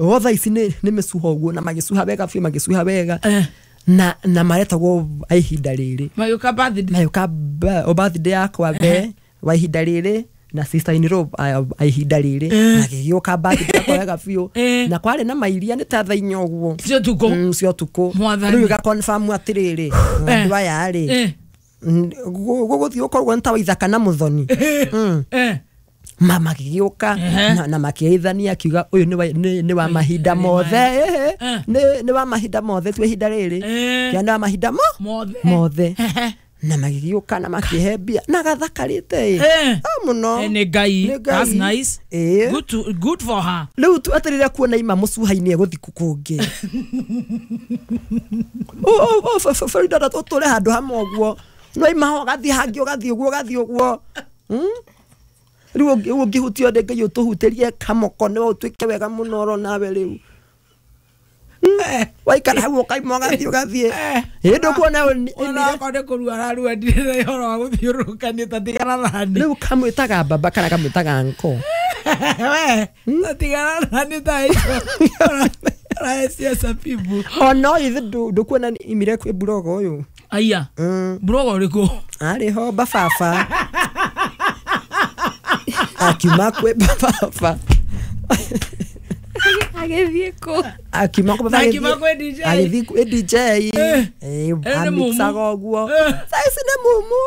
Otha ici nĩ mĩcuha ũguo na magĩcuha wega biũ magĩcuha wega. Na maretagwo ihinda rĩrĩ. Magĩũka birthday. Magĩũka birthday yakwa be wa ihinda rĩrĩ na sister in law ihinda rĩrĩ magĩgĩũka birthday yakwa wega biũ na kwarĩ na mairia nĩ ta thaa inya ũguo. Cia ũtukũ. Cia ũtukũ. Rĩu ĩga confirm atĩrĩrĩ andũ aya rĩ gũgũthiĩ gũkorwo nĩ ta Waithaka na Mũthoni. Magĩgĩũka na makĩgeithania akiuga ũyũ nĩ wa mahinda mothe nĩ wa mahinda mothe tu ihinda rĩrĩ kĩa nĩ wa mahinda mothe na magĩgĩũka na makĩhe mbia na gathakarĩte mũno. Nĩ Ngai. That's nice. Good for her. Rĩu tu atĩrĩrĩ kuona ima mũcuha-inĩ egũthiĩ kũngĩ. Farida tũtũre handũ hamwe ũguo no ima ũgathiĩ hangĩ ũgathiĩ ũguo ũgathiĩ ũguo. Rĩu ũngĩhutio nĩ Ngai ũtũhutĩrie kamoko nĩ ũtuĩke wega mũno oro nawe rĩu. Waikara hau ũkaima ũgathiĩ ũgathiĩ. Ĩ ndũkuona onakorwo nĩ kũrua ararua ndirĩ na ũhoro wa gũthiũrũrũkania ta tigana nani. Rĩu kamwĩtaga baba kana kamwĩtaga nko. We ta tigana nani ta icio. Aracia pibu. Ona ithe ndũkuona imire kwĩ burogo ũyũ. Aya. Burogo ũrĩkũ? Arĩ ho bababa. Akiuma kwĩ bababa. Agĩthiĩ kũ? Akiuma kwĩ baba. Akiuma kwĩ DJ. Agĩthiĩ kwĩ DJ. Amixaga ũguo. Thaa ici nĩ mumu.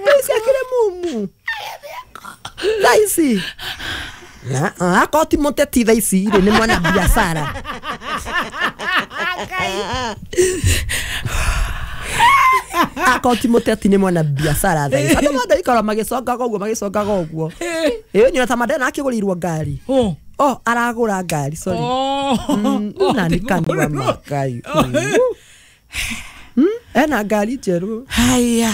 Thaa ici akĩrĩ mumu. Thaa ici. Akorwo ti mũteti thaa ici rĩ nĩ mwana biacara. Akorwo ti mũteti nĩ mwana biacara thaa ici. Andũ mothe ikara magĩcongaga ũguo magĩcongaga ũguo. Ĩĩ nĩ ta Mandela akĩgũrĩirwo ngari. Oh aragũra ngari sorry. Na nĩ kanua makai. Ena ngari njerũ. Haya.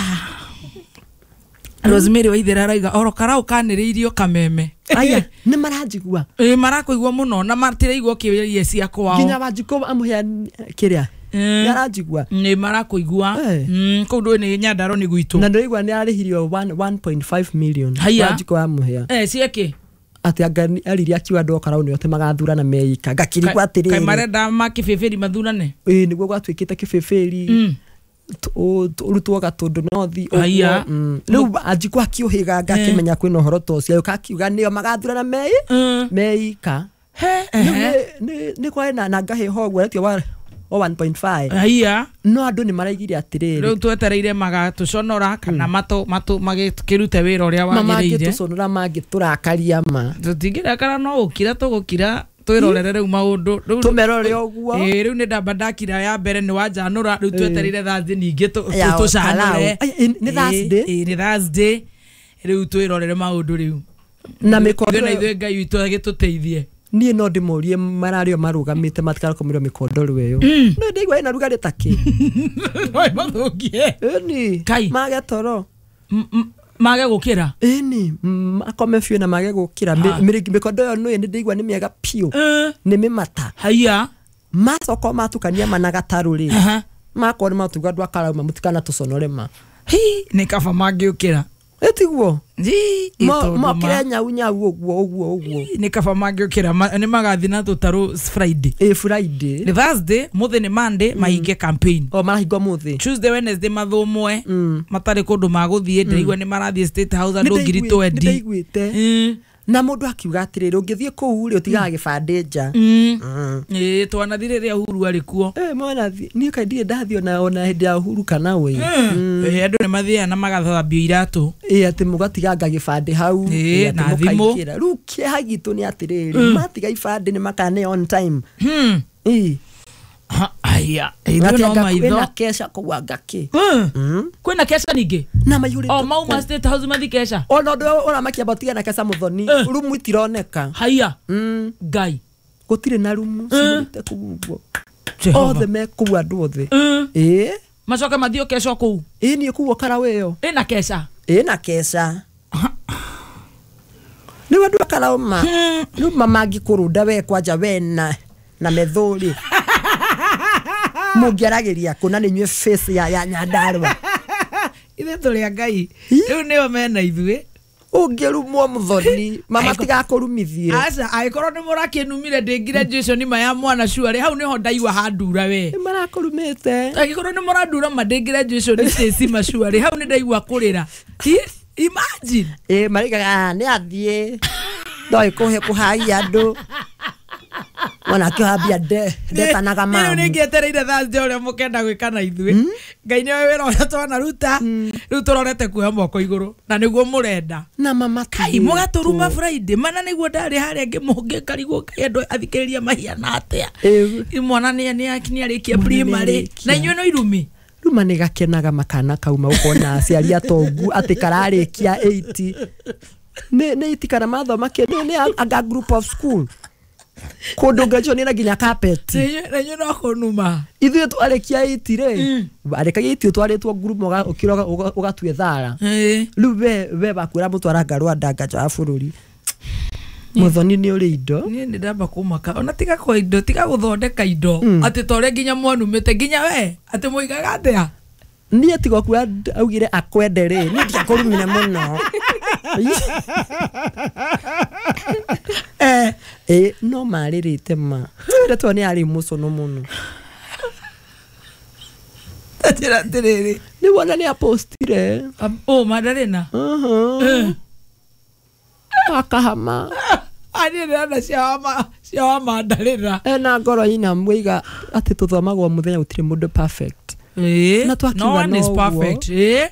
Rosemary Waithera arauga oro karau kanĩrĩirio kameme. Aya nĩ maranjigua. Ĩ marakũigua mũno na matiraigua kĩũria cia kwao. Nginya Wanjikũ amũhe kĩrĩa. Nĩ aranjigua. Nĩ marakũigua. Kũu ndũĩ nĩ Nyandarua nĩ gwitũ. Na ndĩraigua nĩ arĩhirio 1.5 million. Wanjikũ amũhe. Ciĩkĩ? Atĩ anga aririe akiuga andũ a Karau nĩo atĩ magathurana meika. Ngakĩrigwo atĩrĩrĩ. Kaĩ marenda makĩbĩbĩri mathurane? Ĩ nĩguo gwatuĩkĩte kĩbĩbĩri. Ũrutwo Gatũndũ North ũguo. Rĩu Wanjikũ akĩũhĩga ngakĩmenya kwĩna ũhoro ta ũcio agĩũka akiuga nĩo magathurana meika. Nĩ kwarĩ na ngahĩha ũguo etio wa 1.5. Haya. No andũ nĩ maraigire atĩrĩrĩ. Rĩu twetereire magatũconora kana matũ magĩkĩrute wĩra ũrĩa wagĩrĩire. Mangĩtũconora mangĩtũrakaria ma. Tũtingĩrakara no gũkira tũgũkira twĩrorere rĩu maũndũ. Tũmerore ũguo. Rĩu nĩ ndamba ndakira ya mbere nĩ wanjanũra rĩu twetereire Thursday ningĩ tũcanũre. Nĩ Thursday? Nĩ Thursday. Rĩu twĩrorere maũndũ rĩu. Na mĩkondo na ithuĩ Ngai witũ agĩtũteithie. Niĩ no ndĩmorie mararĩo marũgamĩte matikarakomerwo mĩkondoro ĩyo. No ndĩigua ĩna rugarĩ ta kĩ. No ĩmathũkie. Ĩni. Mage toro. Mage gũkĩra. Ĩni makome biũ na mage gũkĩra. Mĩkondo ĩyo nĩ ndĩigua nĩ mĩega biũ. Nĩ mĩmata. Haya. Macoka matukania ma na gatarũ rĩ. Makorwo nĩ matuga andũ a Karau mũtikana tũconore ma. Hi nĩ kaba mangĩũkĩra. Ĩtiguo. Mokĩre nyau nyau ũguo ũguo ũguo. Nĩ kaba mangĩũkĩra nĩ magathiĩ na tũtarũ Friday. Ĩ Friday. Nĩ Thursday, mũthĩ nĩ Monday mahinge campaign. O marahinga ũmũthĩ. Tuesday, Wednesday mathũmwe. Matarĩ kũndũ magũthiĩ ndĩraigua nĩ marathiĩ State House andũ 20,000. Nĩndaiguĩte. Na mũndũ akiuga atĩrĩrĩ ũngĩthiĩ kũu rĩ ũtigaga gĩbandĩ nja. Ĩ twanathiĩ rĩrĩa Uhuru arĩ kuo. Mwanathiĩ niĩ kaĩ ndirĩ ndathiĩ ona hĩndĩ ya Uhuru kana wĩ. Andũ nĩ mathiaga na magathambio iratũ. Ĩ atĩ mũgatiganga gĩbandĩ hau. Na thimũ. Rĩu kĩeha gitũ nĩ atĩrĩrĩ matiga ibandĩ nĩ makane on time. Ĩ. Aya. Ithuĩ no maitho. Kwĩna keca kũu anga kĩ. Kwĩna keca ningĩ? Na maihũrĩte. O mauma State House mathiĩ keca. Ona ũndũ ũramakia matiga na keca Mũthoni. Rumu itironeka. Haya. Ngai. Gũtirĩ na rumu cihũrĩte kũu ũguo. Othe me kũu andũ othe. Ĩ. Macoke mathiĩ keca kũu. Ĩ niĩ kũu Karau ĩyo. Ĩna keca. Ĩna keca. Rĩu andũ a Karau ma. Rĩu mangĩkũrũnda we kwanja we na methũrĩ. Mũngĩaragĩria kũ na nĩ inyuĩ face ya Nyandarua. Ithuĩ tũrĩ a Ngai. Rĩu nĩo mena ithuĩ. Ũngĩrumwo Muthoni mama tigakũrumithie. Aca angĩkorwo nĩ mũrakĩnumire ndĩ graduation ma ya mwana cuarĩ hau nĩho ndaigua handura we. Nĩ marakũrumĩte. Angĩkorwo nĩ mũrandura ma ndĩ graduation Stacy macuarĩ hau nĩ ndaigua kũrĩra. Imagine. Ĩ maraigaga nĩ athiĩ no ĩkũhe kũhaia andũ. Mwana akĩhambia ndetanaga mamu. Rĩu nĩngĩetereire Thursday ũrĩa mũkenda gwĩka na ithuĩ. Ngai nĩoĩ wĩra ũrĩa twanaruta. Rĩu tũrorete kuoya moko igũrũ na nĩguo mũrenda. Na mama Kai mũgatũruma Friday mana nĩguo ndarĩ harĩa ngĩkarigwo Ngai andũ athikĩrĩria mahiana atĩa. Mwana nĩ arĩkia primary na inyuĩ no irumi. Ruma nĩ gakenaga makana kauma ũkona aciari atongu atĩ kararĩkia 80 nĩ itikana mathoma kĩndũ nĩ anga group of school kũndũ graduation na nginya carpet na inyuĩ no kũnuma. Ithuĩ twarĩkia 80 rĩ arĩkagia 80 twarĩtwo group ũkĩroga ũgatue thara. Rĩu we wakwĩra mũtwaranga Rwanda nja wa bũrũri. Muthoni nĩ ũrĩ indo. Niĩ nĩ ndamba kũmaka ona tiga kwa indo tiga gũthondeka indo atĩ ta ũrĩa nginya mwanumĩte nginya we atĩ mũigaga atĩa. Niĩ tiga kuga augire akwende rĩ niĩ ndiakũrumire mũno. No marĩrĩte ma ndetwo nĩ arĩ mũcono mũno. Njĩra atĩrĩrĩ nĩ wona nĩ apostire Madarena akahama niĩ ndĩrona cia wa Madarena ena ngoro ina mwĩiga atĩ tũthomagwo mũthenya gũtirĩ mũndũ perfect. Na twakiuga no one is perfect.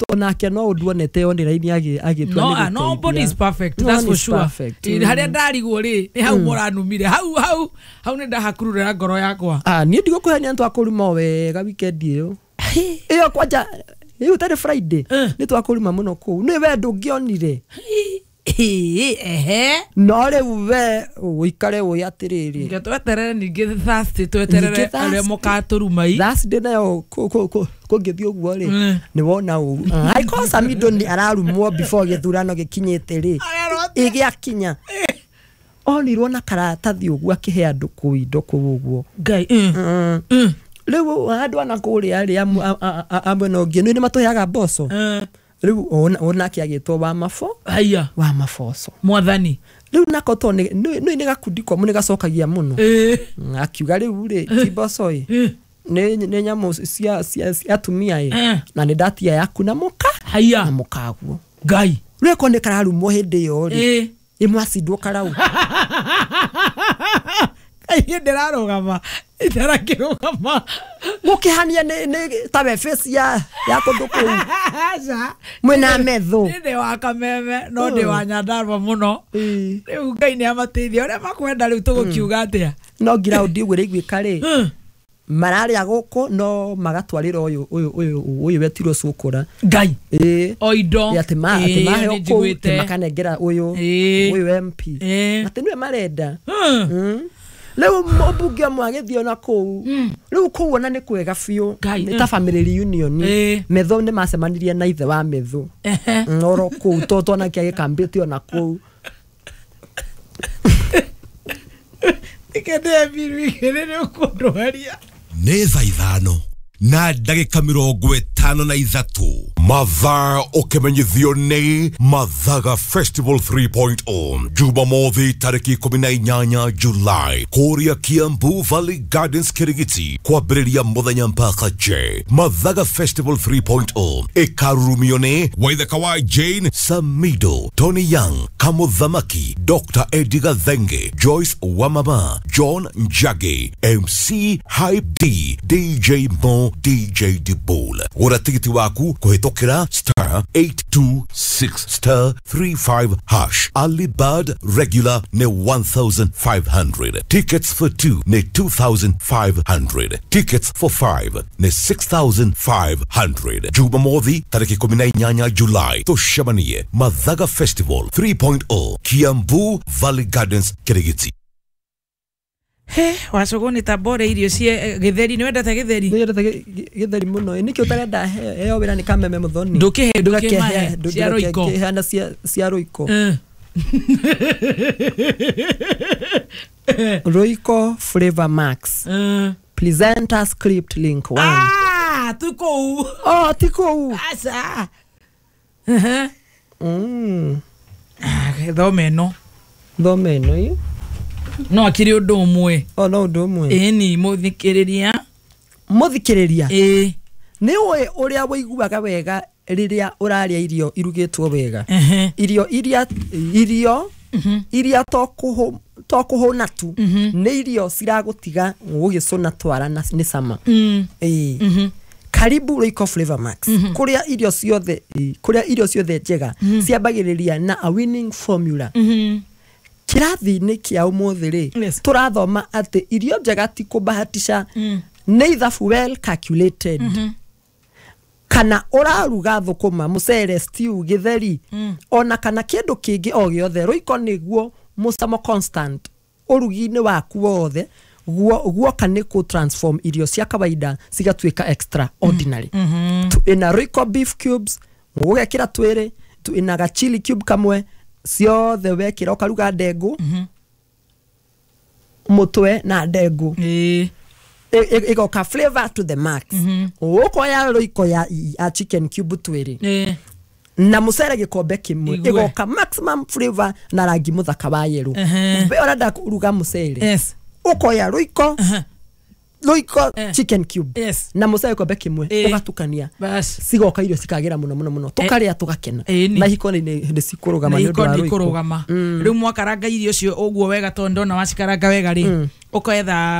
Onake no ũndũ onete online agĩtua nĩ gũteithia. Nobody is perfect, that's for sure. Harĩa ndarigwo rĩ nĩ hau mũranumire hau hau hau nĩ ndahakururĩra ngoro yakwa. Niĩ ndigũkũhenia nĩ twakũruma wega weekend ĩyo. Ĩyo kwanja ĩyo tarĩ Friday nĩ twakũruma mũno kũu. Nĩ we ndũngĩonire. No rĩu we ũikare ũĩ atĩrĩrĩ. Nge tweterere ningĩ Thursday tweterere arĩa mũkatũruma i. Thursday nayo kũngĩthiĩ ũguo rĩ nĩ wona ũru. Angĩkorwo Samido nĩ ararumwo before gĩthurano gĩkinyĩte rĩ ĩgĩakinya onirwo na karatathi ũguo akĩhe andũ kũu indo kũu ũguo. Ngai. Rĩu andũ ana kũrĩa rĩ amwe na ũngĩ nĩ matũheaga mboco. Rĩu onake agĩtwo wa mafo. Haya. Wa maboco. Mwathani. Rĩu nako to nĩ gakundi komũ nĩ gacokagia mũno. Akiuga rĩu rĩ ti mboco ĩ nĩ nyamũ cia atumia ĩ na nĩ ndatia yaku na mũka. Haya. Na mũkaguo. Ngai. Rĩu ko nĩ kararumwo hĩndĩ ĩyo rĩ. Ĩmwacindwo karau. Niĩ ndĩrarũgama itarakĩrũgama mũkĩhania nĩ ta we face ya kũndũ kũu. Aca mwĩna metho. Niĩ ndĩ wa Kameme no ndĩ wa Nyandarua mũno. Rĩu Ngai nĩ amateithia ũrĩa makwenda rĩu tũgũkiuga atĩa. No ground ũguo ĩraiguĩka rĩ mararĩa gũkũ no magatwarĩra ũyũ wetirwo cũkũra. Ngai. O indo. Atĩ maheo kũu atĩ makanengera ũyũ MP. Atĩ nĩwe marenda. Rĩu mũmbunge ũmwe agĩthiĩ ona kũu. Rĩu kũu ona nĩ kwega biũ. Nĩ ta family reunion. Metho nĩ macemanirie na ithe wa Metho. Oro kũu to onake agĩkambĩte ona kũu. Ikende biru igĩrĩ nĩ ũkũndwaria. Nĩ thaa 5 na ndagĩka 53. Mathaa ũkĩmenyithio nĩ Mathaga Festival 3.0 Jumamothi tarĩki 18 July kũrĩa Kiambu Valley Gardens Kirigiti kwambĩrĩria mũthenya mpaka J. Mathaga Festival 3.0 ĩkarurumio nĩ Waithaka wa Jane Samido, Tony Young, Kamuthamaki, Dr. Eddie Gathenge, Joyce Wamama, John Njagi, MC Hype D, DJ Mo, DJ Dibol. Gũra tigiti waku kũhĩtũkĩra star 826 star 35 hash. Early bird regular nĩ 1,500. Tickets for 2 nĩ 2,500. Tickets for 5 nĩ 6,500. Jumamothi tarĩki 18 July tũcemanie Mathaga Festival 3.0 Kiambu Valley Gardens Kirigiti. He, wacũgũ nĩ ta mbore irio cia gĩtheri. Nĩ wendete gĩtheri? Nĩ wendete gĩtheri mũno. Nĩkĩo ũtarenda heo wĩra nĩ Kameme Muthoni. Ndũkĩhe ndũkĩmahe cia Royco. Ndũkĩheana cia Royco. Royco Flavor Max. Presenter script link 1. Ah, tuko. Oh, tiko. Asa. Thome ĩno. Thome ĩno ĩ. No akĩrĩ ũndũ ũmwe. O no ũndũ ũmwe. Ĩni mũthikĩrĩria. Mũthikĩrĩria, Ĩĩ. nĩ ũĩ ũrĩa wĩiguaga wega rĩrĩa ũrarĩa irio irugĩtwo wega? Ehe. Irio iria to kũhũna tu, nĩ irio ciragũtiga ũgĩcũna twara na nĩ cama. Ĩĩ. Karibu Royco Flavor Max, kũrĩa irio ciothe njega ciambagĩrĩria na a winning formula. Kĩrathi-inĩ kĩa ũmũthĩ rĩ, tũrathoma atĩ irio njega ti kũbahatisha, nĩ ithabu well calculated. Kana ũraruga thũkũma, mũcere, stew, gĩtheri, ona kana kĩndũ kĩngĩ o gĩothe, Royco nĩguo mũcamo constant ũrugi-inĩ waku wothe. Guoka nĩ kũ transform irio cia kawaida cigatuĩka extraordinary. Ina Royco beef cubes ũgekĩra twĩrĩ, ina ga chili cube kamwe, ciothe wekĩra ũkaruga ndengũ, mũtwe na ndengũ. Ĩgoka flavor to the max. Ũkoya Royco ya chicken cube twĩrĩ na mũcere gĩkombe kĩmwe, Igue. ĩgoka maximum flavor na rangi mũthaka wa yellow. We ũrenda kũruga mũcere, ũkoya Royco chicken cube na mũcere gĩkombe kĩmwe, ũgatukania, Bas. cigoka irio cikagĩra mũno mũno mũno, tũkarĩa tũgakena. Ĩni. Na hiko nĩ cikũrũgama Na nĩ ũndũ iko wa Royco. ndikũrũgama. Rĩu mwakaranga irio icio ũguo wega, tondũ ndona wacikaranga wega rĩ, ũketha